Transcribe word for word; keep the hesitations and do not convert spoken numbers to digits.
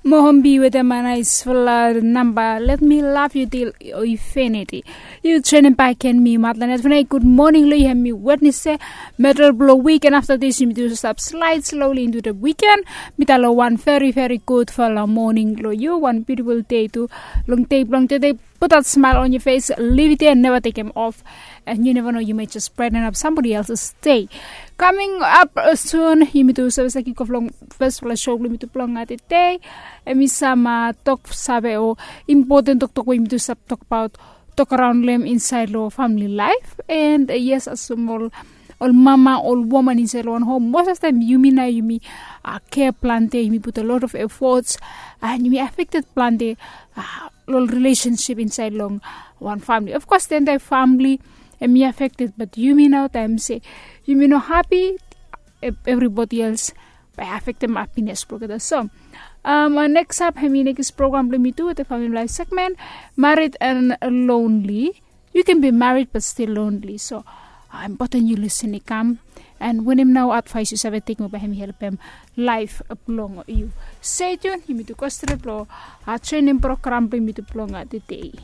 Mohombi wetem a naisfala namba, let mi love yu til infiniti. Yu trenem baken mi matlanet fnai. Gud moning long yu, hem mi wetnese medel blong wiken. Afta dis yumi tu stap slaid sloli intu de wiken. Mita long wan veri veri gudfala moning long yu, wan biutiful dei tu. Long dei blong tede, put dat smail on yu fes, liv it ya, neva tekem of. And yu neva no, yu mai jes braiten ap sambodi elses dei. Kaming ap sun yumi tu save save kikof long fesfala sho blong yumi tu blong tede. Em i sam tok save o impoten toktok we yumi tu save tokbaot, tok araon long em insaed long famili laef. And yes, asem ol mama, ol woman insaed long wan hom, mos of taem yumi nao yumi kea plante, yumi put a lot of efots, and yumi afekted plante long rilesensip insaed long wan famili. Of kos den taem famili em i afekted, bat yumi nao taem se yumi no hapi, evribodi els bae afektem hapines blong olgeta. So neks ap hem i nekis program blong yumi tu wetem famili laef segmen, marit and lonli. Yu ken bi marit bat stil lonli, so impoten yu lusin i kam. And wanem nao advaes yu save tekem, bae hem i helpem laef blong yu. Stay tuned, yumi tu go stret long trenem program blong yumi tu blong tede.